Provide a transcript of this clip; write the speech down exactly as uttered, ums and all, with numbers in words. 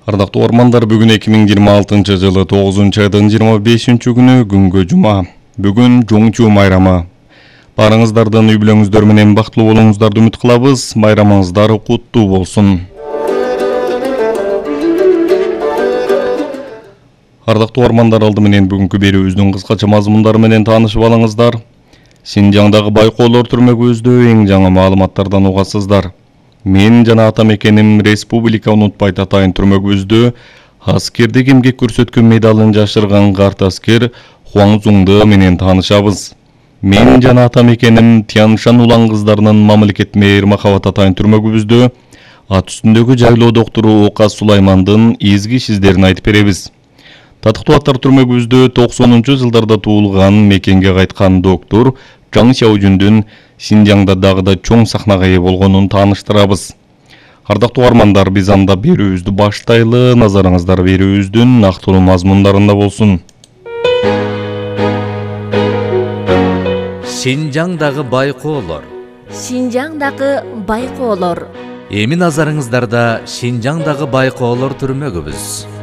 Ардактуу угармандар, бүгүн эки миң жыйырма алтынчы жылы тогузунчу айдын жыйырма бешинчи күнү күнгө жума. Бүгүн Жоңчу майрамы. Барыңыздардын үй бүлөңүздөр менен бактылуу болууңуздарды үмүт кылабыз. Майрамыңыздар куттуу болсун. Ардактуу угармандар, алды менен бүгүнкү берүүбүздүн кыскача мазмундары менен таанышып алыңыздар. Синжаңдагы байкоолор түрмөгүбүздө эң жаңы маалыматтардан угасыздар. Мен жана атам экеним республика унутпайт атайын түрмөгүбүздө аскердик эмгек көрсөткөн медалын жашырган карт аскер Хуаң Цзуңду менен таанышабыз. Мен жана атам экеним Тяншан улан кыздарынын мамлекет мээр Махабат атайын түрмөгүбүздө ат үстүндөгү жайлоо доктору Оказ Сулаймандын изги ишиздерин айтып беребиз. Татыктуу аттар түрмөгүбүздө токсонунчу жылдарда туулган, мекенге кайткан доктор Жаң Сяожүндүн Синжаңда дагы да чоң сахнага ээ болгонун тааныштырабыз. Ардактуу угармандар, биз анда берүүбүздү баштайлы. Назарыңыздар берүүбүздүн нактылуу мазмундарында болсун. Синжаңдагы байкоолор. Синжаңдагы байкоолор. Эми назарыңыздарда Синжаңдагы байкоолор түрмөгүбүз.